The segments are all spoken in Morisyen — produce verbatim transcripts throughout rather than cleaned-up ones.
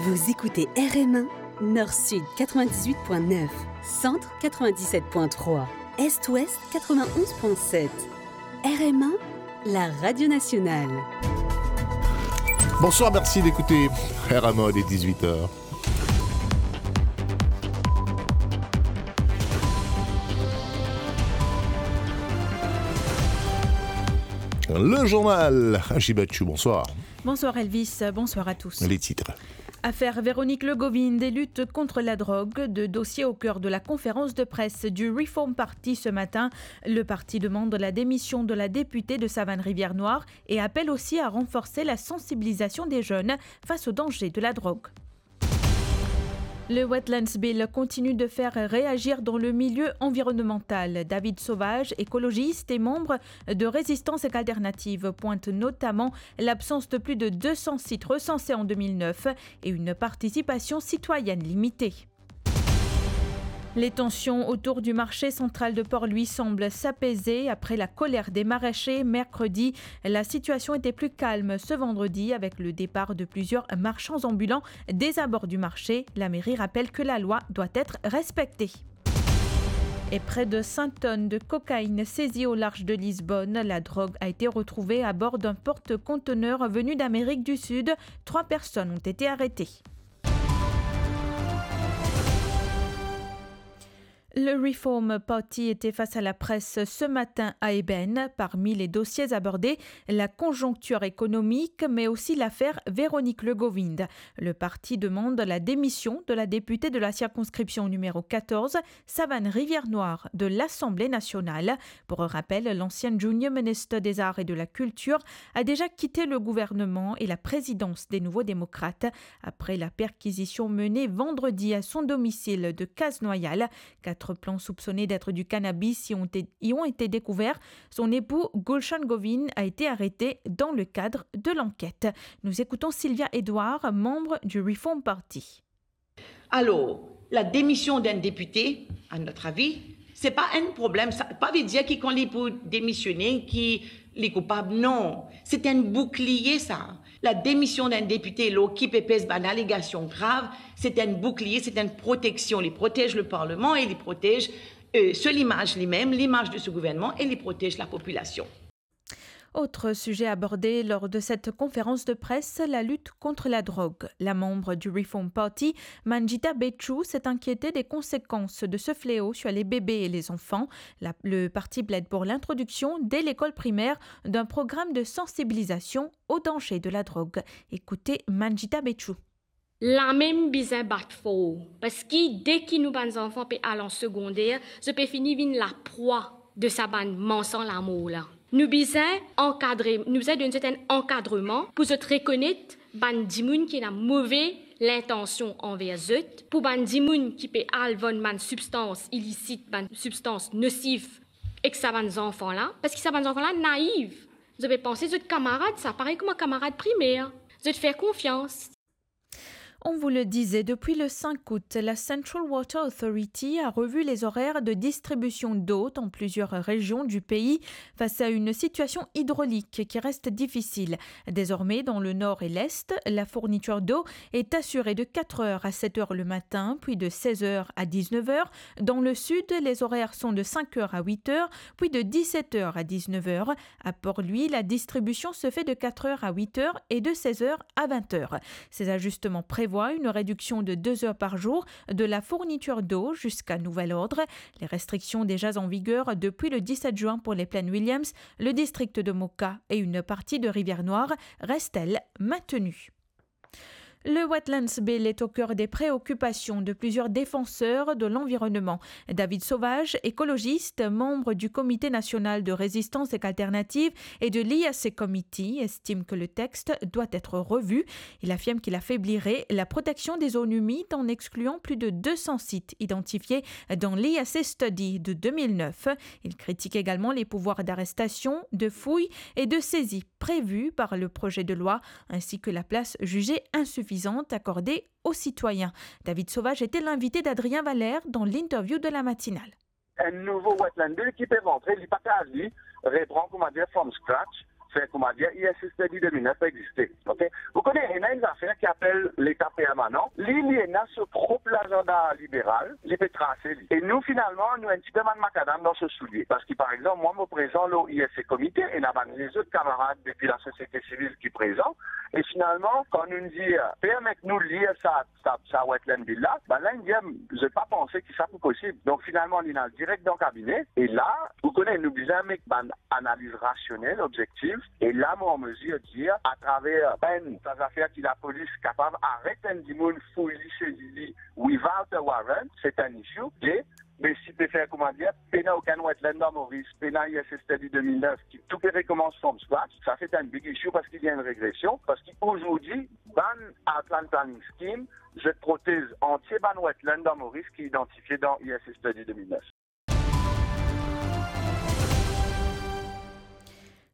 Vous écoutez R M un, Nord-Sud quatre-vingt-dix-huit point neuf, Centre quatre-vingt-dix-sept point trois, Est-Ouest quatre-vingt-onze point sept. R M un, la radio nationale. Bonsoir, merci d'écouter R M un, il est dix-huit heures. Le journal, Haji Bachou, bonsoir. Bonsoir Elvis, bonsoir à tous. Les titres. Affaire Véronique Legovind et lutte contre la drogue, deux dossiers au cœur de la conférence de presse du Reform Party ce matin. Le parti demande la démission de la députée de Savane-Rivière-Noire et appelle aussi à renforcer la sensibilisation des jeunes face au danger de la drogue. Le Wetlands Bill continue de faire réagir dans le milieu environnemental. David Sauvage, écologiste et membre de Résistance Alternative, pointe notamment l'absence de plus de deux cents sites recensés en deux mille neuf et une participation citoyenne limitée. Les tensions autour du marché central de Port-Louis semblent s'apaiser après la colère des maraîchers mercredi. La situation était plus calme ce vendredi avec le départ de plusieurs marchands ambulants des abords du marché. La mairie rappelle que la loi doit être respectée. Et près de cent tonnes de cocaïne saisies au large de Lisbonne. La drogue a été retrouvée à bord d'un porte-conteneurs venu d'Amérique du Sud. Trois personnes ont été arrêtées. Le Reform Party était face à la presse ce matin à Ébène. Parmi les dossiers abordés, la conjoncture économique, mais aussi l'affaire Véronique Legovind. Le parti demande la démission de la députée de la circonscription numéro quatorze, Savane-Rivière-Noire, de l'Assemblée nationale. Pour rappel, l'ancienne Junior Minister des Arts et de la Culture a déjà quitté le gouvernement et la présidence des Nouveaux Démocrates après la perquisition menée vendredi à son domicile de Case-Noailles. Quatre plants soupçonnés d'être du cannabis y ont été, y ont été découverts. Son époux, Gulshan Govin, a été arrêté dans le cadre de l'enquête. Nous écoutons Sylvia Edouard, membre du Reform Party. Alors, la démission d'un député, à notre avis, c'est pas un problème. Sa pa ve dir ki kan li pou demisyone, ki li koupab. Non, c'est un bouclier, ça. La démission d'un député, lor ki pe pez bann alégasion grav, c'est un bouclier, c'est une protection. Li protège le Parlement et li protège, euh, so limaz limem, l'image de ce gouvernement, et li protège la population. Autre sujet abordé lors de cette conférence de presse, la lutte contre la drogue. La membre du Reform Party, Manjitha Betjou, s'est inquiétée des conséquences de ce fléau sur les bébés et les enfants. La, le parti plaide pour l'introduction, dès l'école primaire, d'un programme de sensibilisation au danger de la drogue. Écoutez Manjitha Betjou. Lamem bizin bat for, parski deki nou bann zanfan pe al an segonder, zot pe fini vinn laprwa de sa bann mansan lamor la. Nou bizin ankadre, nou bizin donn zot enn ankadreman pou zot rekonet bann dimoun ki ena move lintansion anver zot, pou bann dimoun ki pe al vann bann sibstans ilisit, bann sibstans nosif ek sa bann zanfan la, parski sa bann zanfan la naiv. Zot pe panse zot kamarad sa, parey kouma kamarad primer. Zot fer konfians. On vous le disait, depuis le cinq août, la Central Water Authority a revu les horaires de distribution d'eau dans plusieurs régions du pays face à une situation hydraulique qui reste difficile. Désormais, dans le nord et l'est, la fourniture d'eau est assurée de quatre heures à sept heures le matin, puis de seize heures à dix-neuf heures. Dans le sud, les horaires sont de cinq heures à huit heures, puis de dix-sept heures à dix-neuf heures. À Port-Louis, la distribution se fait de quatre heures à huit heures et de seize heures à vingt heures. Ces ajustements prévoient une réduction de deux heures par jour de la fourniture d'eau jusqu'à nouvel ordre. Les restrictions déjà en vigueur depuis le dix-sept juin pour les plaines Williams, le district de Moka et une partie de Rivière-Noire restent, elles, maintenues. Le Wetlands Bill est au cœur des préoccupations de plusieurs défenseurs de l'environnement. David Sauvage, écologiste, membre du Comité national de résistance et alternative et de l'I A C Committee, estime que le texte doit être revu. Il affirme qu'il affaiblirait la protection des zones humides en excluant plus de deux cents sites identifiés dans l'I A C Study de deux mille neuf. Il critique également les pouvoirs d'arrestation, de fouille et de saisie prévus par le projet de loi, ainsi que la place jugée insuffisante accordée aux citoyens. David Sauvage était l'invité d'Adrien Valère dans l'interview de la matinale. Enn nouvo Wetland Bill ki pe rantre, li pa kav li repran, koumadir, from scratch, fer koumadir, I S S Study de mil nef pa existe, ok? Ou kone, ena enn zafer ki apel Leta permanan. Li, li ena so prop lazanda liberal, li pe trase li. E nou, finalman, nou enn tipe bann makadam dan so soulie. Parski, par exanp, mwa, mo prezan lor I S C komite, ena bann lezot kamarad depi lasosiete sivil ki prezan. E finalman, kan nou dir, "Permet nou lir sa, sa, sa wetland bill la," bannla inn dir, "Zot pa panse ki sa pou posib." Donk, finalman, li al direk dan kabine. E la, ou kone, nou bizin met bann analiz rasionel, obzektif. E la, mo an mezir dir, atraver enn sa zafer ki lapolis kapav aret enn dimoun, fouy li, sezi li, without a warrant, se enn issue. De, me si pe fer, koumadir, pena okenn wetland dan Moris, pena I S S Study de mil nef, ki tou pe rekomans from scratch, sa se enn big issue parski li enn regresion, parski azordi, bann outland planning scheme, zot protez antie bann wetland dan Moris ki idantifie dan I S S Study de mil nef.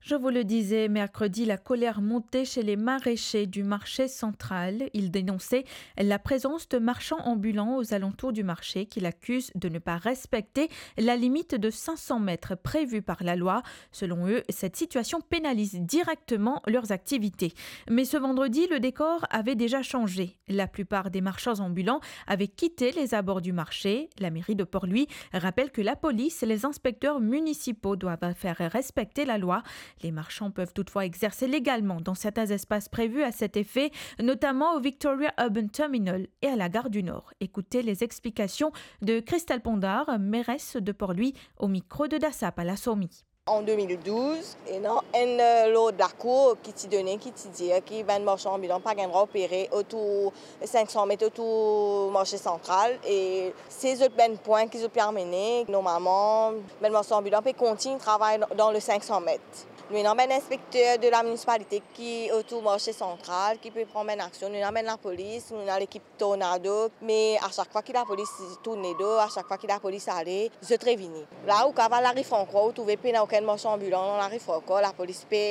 Je vous le disais, mercredi, la colère montait chez les maraîchers du marché central. Ils dénonçaient la présence de marchands ambulants aux alentours du marché, qu'ils accusent de ne pas respecter la limite de cinq cents mètres prévue par la loi. Selon eux, cette situation pénalise directement leurs activités. Mais ce vendredi, le décor avait déjà changé. La plupart des marchands ambulants avaient quitté les abords du marché. La mairie de Port-Louis rappelle que la police et les inspecteurs municipaux doivent faire respecter la loi. Les marchands peuvent toutefois exercer légalement dans certains espaces prévus à cet effet, notamment au Victoria Urban Terminal et à la gare du Nord. Écoutez les explications de Christelle Pondard, mairesse de Port-Louis, au micro de Dassa Palasomi. An de mil douz, ena enn, eh, lord lakour ki ti done, ki ti dir ki bann marsan anbilan pa gagn drwa opere otour sink san met otour marse santral, e se zot bann pwin ki zot pe amene. Normalman, bann marsan anbilan pe kontign travay dan, dan le sink san met. Nou ena bann inspekter de la minisipalite ki otour marse santral, ki pe pran bann aksion. Nou ena bann lapolis, nou ena lekip Tornado, me a sak fwa ki lapolis tourn ledo, a sak fwa ki lapolis ale, zot revini. La ou kav al lari Frankor, ou trouve pena okenn marsan anbilan dan lari Frankor, lapolis pe,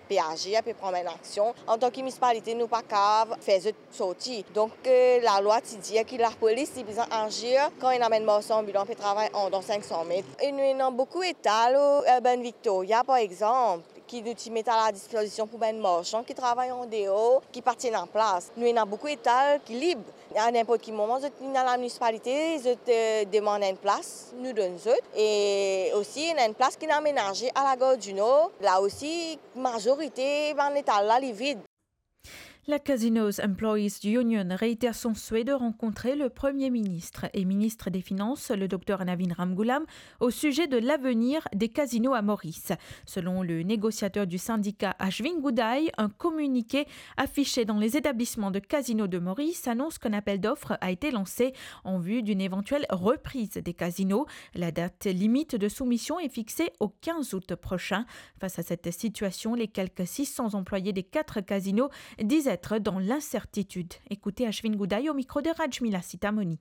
pe azir, pe pran bann aksion. Antan ki minisipalite, nou pa kav fer zot sorti. Donk, eh, lalwa ti dir ki lapolis ti bizin azir kan ena bann marsan anbilan pe travay andan sink san met. E nou ena boukou etal, eh, Urban Victoria, par exanp, ki nou ti met a la dispozision pou bann marsan ki travay andeor, ki pa ti ena plas. Nou ena boukou etal ki lib. A ninport ki moman, zot vinn a la minisipalite, zot, eh, demann enn plas, nou donn zot. E osi, ena enn plas ki amenaze a la Gare du Nord. La osi, mazorite bann letal la, li vid. La Casinos Employees Union réitère son souhait de rencontrer le Premier ministre et ministre des Finances, le docteur Navin Ramgoolam, au sujet de l'avenir des casinos à Maurice. Selon le négociateur du syndicat Ashwin Goodhai, un communiqué affiché dans les établissements de casinos de Maurice annonce qu'un appel d'offres a été lancé en vue d'une éventuelle reprise des casinos. La date limite de soumission est fixée au quinze août prochain. Face à cette situation, les quelques six cents employés des quatre casinos disent être dans l'incertitude. Écoutez Ashwin Goodhai au micro de Rajmila Sitamoni.